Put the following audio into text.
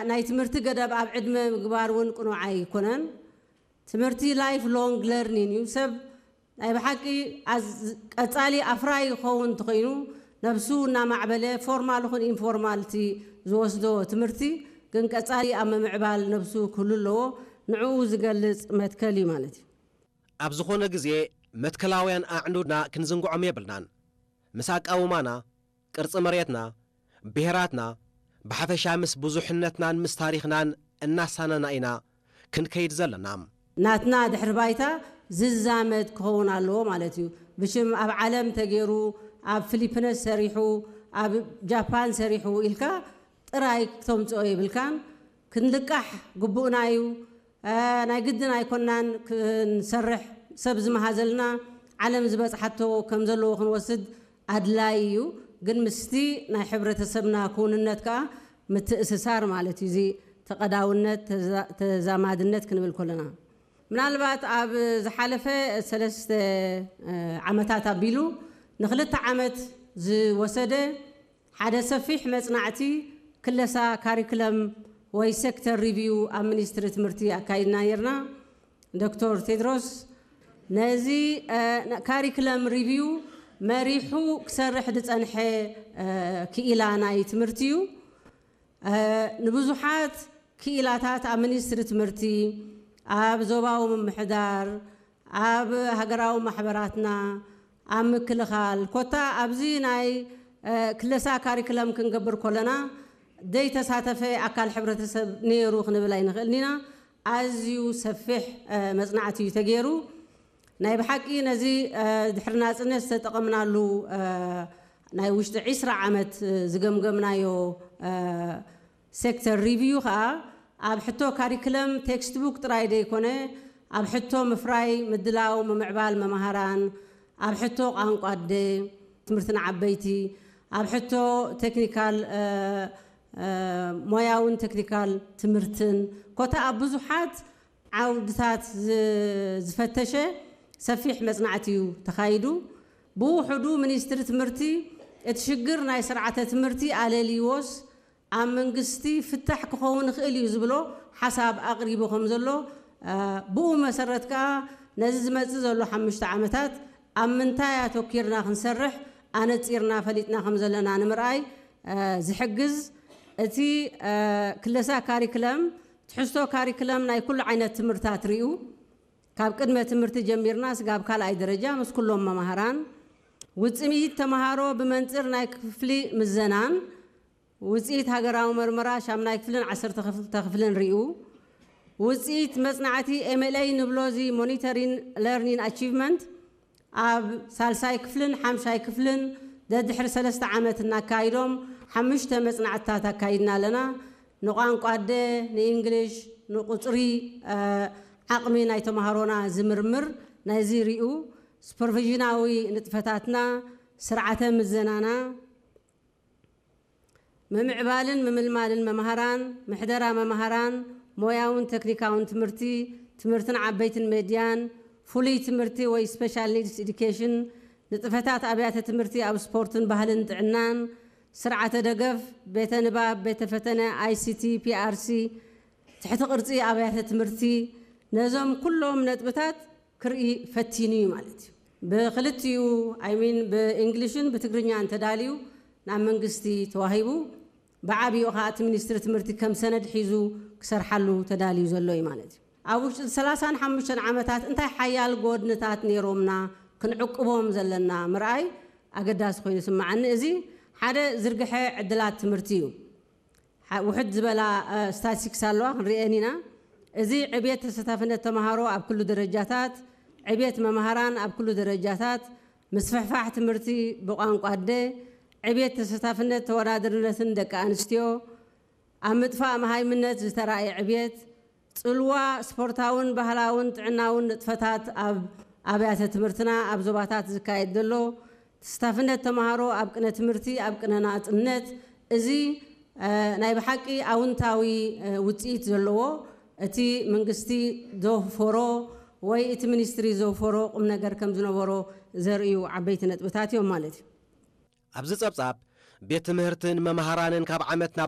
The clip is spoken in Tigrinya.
ናይ ትምህርቲ ገደብ ኣብ ዕድመ ምግባር እውን ቅኑዕ ኣይኮነን። ትምህርቲ ላይፍ ሎንግ ለርኒንግ እዩ። ሰብ ናይ ብሓቂ ኣዝ- ቀጻሊ ኣፍራይ ክኸውን እንተኾይኑ፣ ነብሱ እናማዕበለ፣ ፎርማል ይኹን ኢንፎርማል፣ እቲ ዝወስዶ ትምህርቲ ግን ቀጻሊ ኣብ ምምዕባል ነብሱ ክህሉ ኣለዎ። ንዕኡ ዝገልጽ መትከል እዩ ማለት እዩ። ኣብ ዝኾነ ግዜ መትከላውያን ኣዕኑድና ክንዝንግዖም የብልናን። ምስ ኣቃውማና፣ ቅርጺ መሬትና፣ ብሄራትና፣ ብሓፈሻ ምስ ብዙሕነትናን ምስ ታሪኽናን እናሳነና ኢና ክንከይድ ዘለና። ናትና ድሕሪ ባይታ ዝዛመድ ክኸውን ኣለዎ ማለት እዩ። ብሽም ኣብ ዓለም ተገይሩ፣ ኣብ ፊሊፒነስ ሰሪሑ፣ ኣብ ጃፓን ሰሪሑ ኢልካ ጥራይ ክተምፅኦ የብልካን። ክንልቃሕ ግቡእና እዩ። እ፣ ናይ ግድን ኣይኮናን ክንሰርሕ፣ ሰብ ዝመሃዘልና፣ ዓለም ዝበፅሓቶ ከም ዘለዎ ክንወስድ ኣድላይ እዩ። ግን ምስቲ ናይ ሕብረተሰብና ክውንነት ከዓ ምትእስሳር ማለት እዩ። እዚ ተቐዳውነት፣ ተዛ- ተዛማድነት ክንብል ከለና፣ ምናልባት ኣብ ዝሓለፈ ሰለስተ እ፣ ዓመታት ኣቢሉ ንክልተ ዓመት ዝወሰደ ሓደ ሰፊሕ መጽናዕቲ ክለሳ ካሪክለም ወይ ሴክተር ሪቪው ኣብ ሚኒስትሪ ትምህርቲ ኣካይድና ነርና። ዶክተር ቴድሮስ ነዚ እ፣ ካሪክለም ሪቪው መሪሑ ክሰርሕ ዝጸንሐ እ፣ ክኢላ ናይ ትምህርቲ እዩ። እ፣ ንብዙሓት ክኢላታት ኣብ ሚኒስትሪ ትምህርቲ፣ ኣብ ዞባዊ ምምሕዳር፣ ኣብ ሃገራዊ ማሕበራትና፣ ኣብ ምክልኻል፣ ኮታ ኣብዚ ናይ እ፣ ክለሳ ካሪክለም ክንገብር ከለና ዘይተሳተፈ ኣካል ሕብረተሰብ ነይሩ ክንብል ኣይንኽእልን ኢና። ኣዝዩ ሰፊሕ እ፣ መጽናዕቲ እዩ ተገይሩ። ናይ ብሓቂ ነዚ እ፣ ድሕሪ ናጽነት ዝተጠቐምናሉ እ፣ ናይ ውሽጢ ዒስራ ዓመት እ፣ ዝገምገምናዮ እ፣ ሴክተር ሪቪው ከዓ ኣብ ሕቶ ካሪክለም ቴክስት ቡክ ጥራይ ዘይኮነ፣ ኣብ ሕቶ ምፍራይ፣ ምድላው፣ ምምዕባል መምሃራን፣ ኣብ ሕቶ ቋንቋ ኣደ፣ ትምህርቲ ንዓበይቲ፣ ኣብ ሕቶ ቴክኒካል እ፣ እ፣ ሞያውን ቴክኒካል ትምህርትን ኮታ ኣብ ብዙሓት ዓውድታት ዝ- ዝፈተሸ ሰፊሕ መጽናዕቲ እዩ ተኻይዱ። ብውሕዱ ሚኒስትሪ ትምህርቲ እቲ ሽግር ናይ ስርዓተ ትምህርቲ ኣለልይዎስ ኣብ መንግስቲ ፍታሕ ክኸውን ይኽእል እዩ ዝብሎ ሓሳብ ኣቕሪቡ ከም ዘሎ፣ እ፣ ብኡ መሰረት ከኣ ነዚ ዝመጽእ ዘሎ ሓሙሽተ ዓመታት ኣብ ምንታይ ኣተኪርና ክንሰርሕ ኣነጺርና ፈሊጥና ከም ዘለና ንምርኣይ እ፣ ዝሕግዝ፣ እቲ እ፣ ክለሳ ካሪክለም ትሕዝቶ ካሪክለም ናይ ኩሉ ዓይነት ትምህርታት ርኡ፣ ካብ ቅድመ ትምህርቲ ጀሚርና ስጋብ ካልኣይ ደረጃ ምስ ኩሎም መማህራን፣ ውፅኢት ተምሃሮ ብመንፅር ናይ ክፍሊ ምዘናን ውፅኢት ሃገራዊ መርመራ ሻምናይ ክፍልን ዓሰርተ ክፍልን ርኡ፣ ውፅኢት መፅናዕቲ ኤምኤልኤ ንብሎ እዚ ሞኒተሪን ለርኒን ኣቺቭመንት ኣብ ሳልሳይ ክፍልን ሓምሻይ ክፍልን ደድሕሪ ሰለስተ ዓመት እናካይዶም ሓሙሽተ መፅናዕትታት ኣካይድና ኣለና። ንቋንቋ ኣደ፣ ንእንግሊሽ፣ ንቁፅሪ ዓቕሚ ናይ ተምሃሮና ዝምርምር ናይዚ ሪኡ ሱፐርቪዥናዊ ንጥፈታትና፣ ስርዓተ ምዘናና፣ ምምዕባልን ምምልማልን መምሃራን፣ ምሕደራ መምሃራን፣ ሞያውን ተክኒካውን ትምህርቲ፣ ትምህርትን ዓበይትን ሜድያን፣ ፍሉይ ትምህርቲ ወይ ስፔሻል ኒድስ ኢዱኬሽን፣ ንጥፈታት ኣብያተ ትምህርቲ ኣብ ስፖርትን ባህልን ጥዕናን፣ ስርዓተ ደገፍ፣ ቤተ ንባብ፣ ቤተ ፈተነ፣ ኣይሲቲ፣ ፒኣርሲ፣ ትሕቲ ቅርጺ ኣብያተ ትምህርቲ፣ ነዞም ኩሎም ነጥብታት ክርኢ ፈቲኑ እዩ ማለት እዩ። ብክልቲኡ ኣይሚን ብእንግሊሽን ብትግርኛ እንተዳልዩ ናብ መንግስቲ ተዋሂቡ፣ ብዓብይኡ ከዓ እቲ ሚኒስትሪ ትምህርቲ ከም ሰነድ ሒዙ ክሰርሓሉ ተዳልዩ ዘሎ እዩ ማለት እዩ። ኣብ ውሽጢ ሰላሳን ሓሙሽተን ዓመታት እንታይ ሓያል ጎድንታት ነይሮምና ክንዕቅቦም ዘለና ምርኣይ ኣገዳሲ ኮይኑ ይስምዓኒ። እዚ ሓደ ዝርግሐ ዕድላት ትምህርቲ እዩ። ውሕድ ዝበላ ስታቲስቲክስ ኣለዋ፣ ክንሪኤን ኢና። እዚ ዕብየት ተሳታፍነት ተምሃሮ ኣብ ኩሉ ደረጃታት፣ ዕብየት መምሃራን ኣብ ኩሉ ደረጃታት፣ ምስፍሕፋሕ ትምህርቲ ብቋንቋ ኣደ፣ ዕብየት ተሳታፍነት ተወዳደርነትን ደቂ ኣንስትዮ፣ ኣብ ምጥፋእ መሃይምነት ዝተራእየ ዕብየት፣ ጽልዋ ስፖርታውን ባህላውን ጥዕናውን ንጥፈታት ኣብ ኣብያተ ትምህርትና ኣብ ዞባታት ዝካየድ ዘሎ ተስታፍነት ተምሃሮ ኣብ ቅነ ትምህርቲ ኣብ ቅነ ናጽነት፣ እዚ ናይ ብሓቂ ኣውንታዊ ውፅኢት ዘለዎ፣ እቲ መንግስቲ ዘወፈሮ ወይ እቲ ሚኒስትሪ ዘወፈሮ ቁም ነገር ከም ዝነበሮ ዘርእዩ ዓበይቲ ነጥብታት እዮም ማለት እዩ። ኣብዚ ጸብጻብ ቤት ትምህርትን መምሃራንን ካብ ዓመት ናብ